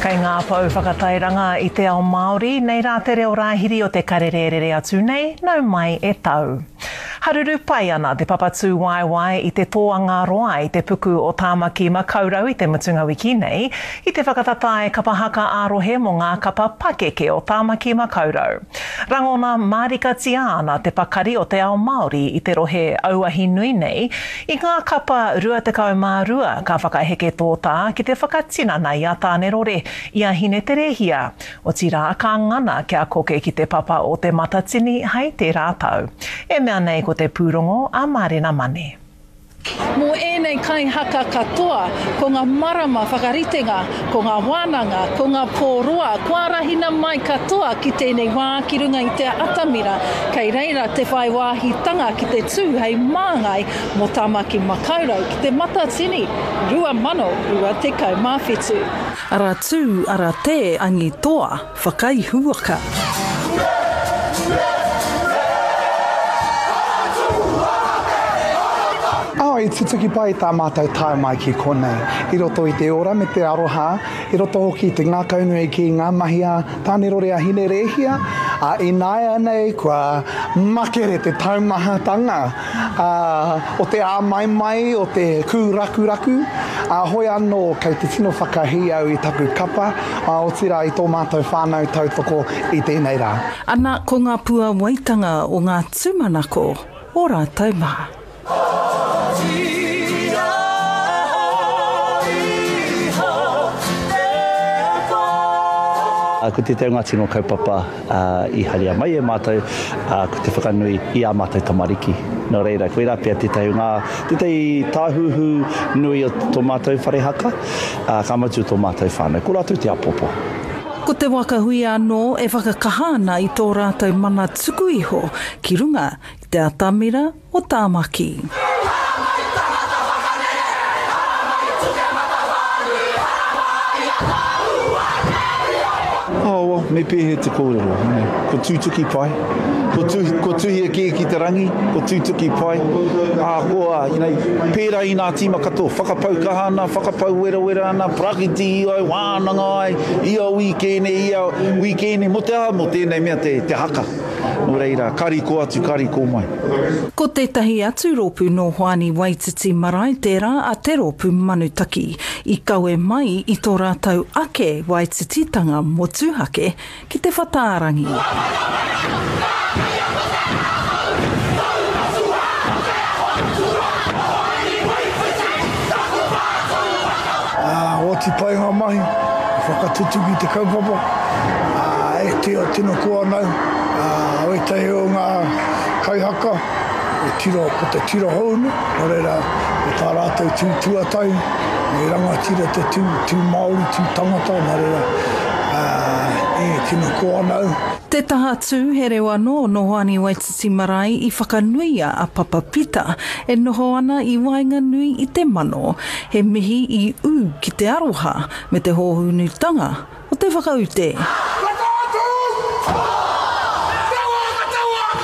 Kei ngā pou whakatairanga i te ao Māori, nei rā te reo rāhiri o te karere rere atu nei, nau mai e tau. Haruru pai ana te papa tūwaewae i te tōanga roa i te puku o Tāmaki Makaurau i te mutunga wiki nei, i te whakatatae kapa haka ā-rohe mō ngā kapa pakeke o Tāmaki Makaurau. Rangona mārikatia ana te pakari o te ao Māori i te rohe auahi nui nei, i ngā kapa 22 ka whakaheke tōtā ki te whakatinana i a Tānerore, i a Hineterehia, otirā ka ngana kia koke ki te papa o Te Matatini hei tērā tau. E mea nei ko te pūrongo a Mārena Mane. Mō ēnei kaihaka katoa, ko ngā marama whakaritenga, ko ngā wānanga, ko ngā pō roa, kua arahina mai katoa ki tēnei wā ki runga i te atamira, kei reira te whai wāhitanga ki te tū hei māngai mō Tāmaki Makaurau ki Te Matatini 2027. Ara tū, ara tē, angitoa, whakaihuwaka. Oh, i tutuki pai tā mātou tae mai ki konei. I roto i te ora me te aroha, i roto hoki i te ngākaunui ki ngā mahi a Tānerore a Hinerēhia, ā, ināianei kua makere te taumahatanga ā, o te āmaimai, o te kūrakuraku, ā, hoi anō kei te tino whakahī au i taku kapa, ā, otirā i tō mātou whānau tautoko i tēnei rā. Ana ko ngā puawaitanga o ngā tūmanako o rātou mā. Otiia iho te pō. Ko tētahi o ngā tino kaupapa i haria mai e mātou, ko te whakanui i ā mātou tamariki. Nō reira, koirā pea tētahi o ngā, tētahi tāhuhu nui o tō mātou whare haka, ka mutu o tō mātou whānau. Ko rātou te apopo. Ko te waka huia anō e whakakaha ana i tō rātou mana tuku iho ki runga i te atamira o Tāmaki. Oh, well, me pēhea te kōrero, you know, ko tūtuki pai, ko, tu, ko tuhia kē ki te rangi, ko tūtuki pai, ā, ko, you know, pērā i nā tīma katoa, whakapau kaha ana, whakapau werawera ana, parakiti ai, wānanga ai, ia wīkēne, ia wīkēne, mō te aha, mō tēnei mea te, te haka. Nō reira, ka riko atu, ka riko mai. Ko tētahi atu rōpū nō Hoani Waititi Marae tērā a Te Rōpū Manutaki, i kawe mai i tō rātou ake Waitititanga motuhake ki te whatārangi. Ā, oti pai ngā mahi, i whakatutuki te kaupapa, ā, e tino, tino koa ana au, ā, wētahi o ngā kaihaka, e tiro, ko te tiro hou nei, nō reira, ko tā rātou tū tuatahi, me rangatira te tū, tū Māori, tū tangata, nā reira, ā, e tino koa ana au. Te taha tū, he reo anō nō Hoani Waititi Marae i whakanuia a Papa Pita e noho ana i waenganui i te mano. He mihi i ū ki te aroha me te hōhunutanga o te whakaute.